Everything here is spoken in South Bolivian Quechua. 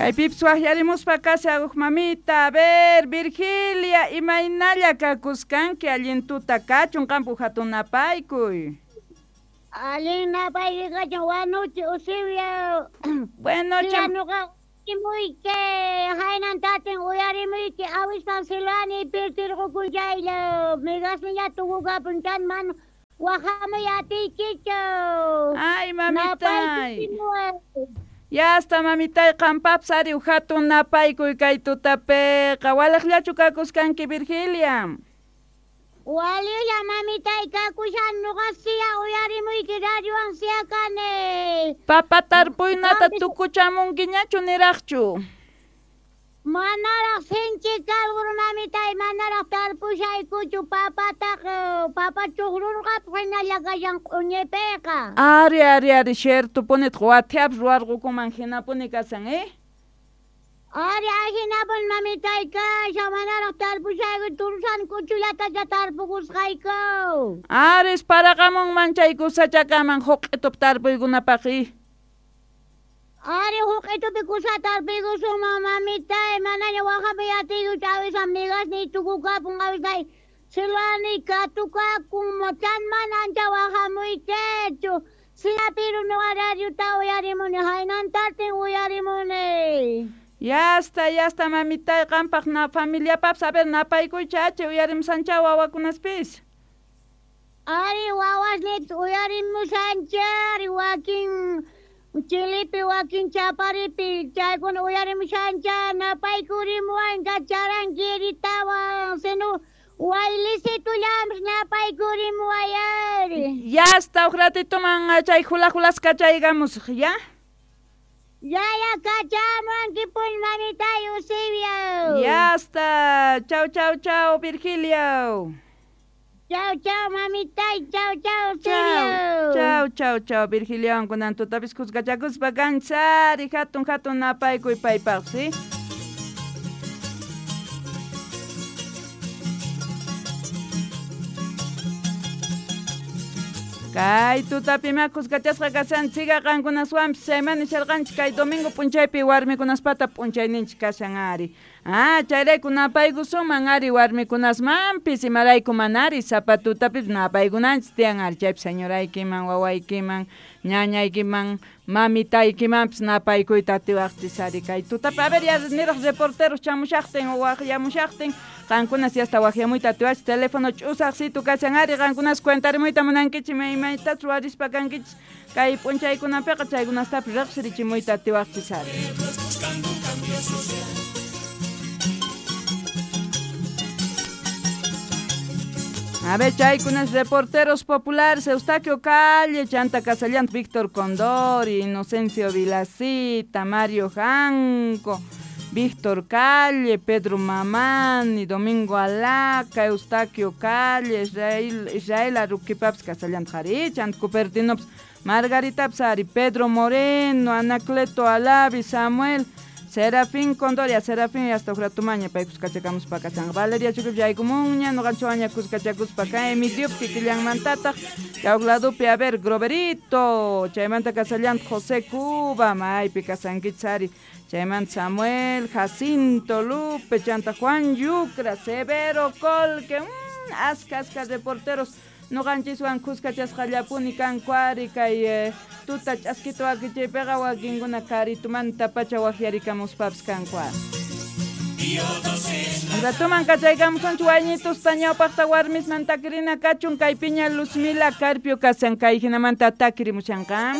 Kaypipas waqyarimuspa kashan huk mamita. A ver, Virgilia, imaynalla kakuskanki allin tuta kachun qampu hatun napaykuy. Allin napaykuy kachun wanuchi Eusebio. Bueno, nuqa muyki haynan tatin uyarimuyki awispan silani pirtirqukun chaylla migasniña tukukapun chan man waqhamuy atiykichu. Ay, mamitay. Ya hasta mamitay qampapas ari hatun napaykuy kay tutapiqa. Walaqllachu kakuskanki Virgilia? Walilla mamitay kakushan nuqa siya uyarimuyki radiowan siya kani. Papa tarpuynata tukuchamunkiñachu niraqchu? Manaraq sinchi kalqur mamitay manaraq tarpushaykuchu papataqa papa chuqrurqapaq hinalla kashan q'uñipiqa. Ari ari ari ciertopunitaq wathiapas ruwarqukuman hinapuni kashan Ari ahinapun mamitay kashan manaraq tarpushayku tursan kuchullatacha tarpukusqayku. Aris paraqamunman chay kusachakaman huq'itup tarpuykunapaq Ari huq'itupi kusa tarpuykusunman mamitay manaña waqhamuy atiykuchu awisan migasniy tukukapun awisay silani katukakun chan mana ancha waqhamuykichu siyapiru nuqa radiota uyarimuni haynantartin uyarimuni. Ya está mamitay qampaq na familiapapas a ver napaykuycha achi uyarimusancha wawakunaspis. Ari wawasniypis uyarimusanchari wakin Chilipi wakin chaparipi chaykuna uyarimushancha napaykurimuwan charanquiritawan sino waylisitullampis napaykurimuway ari. Ya está huk ratituman chay hula hulas kachaykamusaq ya. Ya ya kachamuwankipuni mamitay Eusebio. Ya está. Chau chau chau Virgilio. Chau chau mamitay chau chau Eusebio. Chau chau chau Virgilio kunan tutapis kuskachakuspa kanchari hatun hatun napaykuy paypaq ¿sí? Kay tutapima kuskachasqa kashanchikqa qankunaswanpis chayman nisharqanchik kay domingo p'unchaypi warmikunaspata p'unchayninchik kashan ari. Ah, chayrayku napaykusunman ari warmikunasmanpis imarayku manari sapa tutapipis napaykunanchik tiyan ari chaypi señoraykiman wawaykiman ñañaykiman mamitaykimanpis napaykuyta atiwaqchis ari kay tutapi. A ver, ya niraq reporteros chamushaqtin o waqyamushaqtin qankunas yasta waqyamuyta atiwachis teléfono ch'usaqsitu kashan ari qankunas cuentarimuyta munankichik maymaytas ruwarispa kankichik kay p'unchaykunapiqa chaykunastapis riqsirichimuyta atiwaqchis ari. A ver, chaykunas reporteros populares, Eustaquio Calle, Chanta Casallant, Víctor Condori, Inocencio Vilacita, Mario Janco, Víctor Calle, Pedro Mamani, Domingo Alaca, Eustaquio Calle, Israel Aruquipaps, Casallant Jari, Chant Cupertinops, Margarita Psari, Pedro Moreno, Anacleto Alavi, Samuel, Serafín Condoria, Serafín hasta Ujratumaña, pay kuskachakamuspa kashan. Valeria Chuquip yaykumunña, nuqanchikwanña kuskachakuspa kan, Emilio kikillanmantataq, Yawladupi, a ver, Groverito, chaymanta kasallant José Cuba, maypi kasankichis ari, chaymanta Samuel, Jacinto Lupe, chanta Juan Yucra, Severo Colque, aska aska reporteros, nuqanchiswan kuskachasqallapuni kanku ari kay tuta ch'askita wakichaypiqa wakinkuna karitumanta pacha waqyarikamuspapas kanku ari. Ratuman kachaykamusunchik wayñitusta ñawpaqta warmisman takirina kachun kaypiña Luzmila Carpio kashan kay hinamanta takirimushanqa.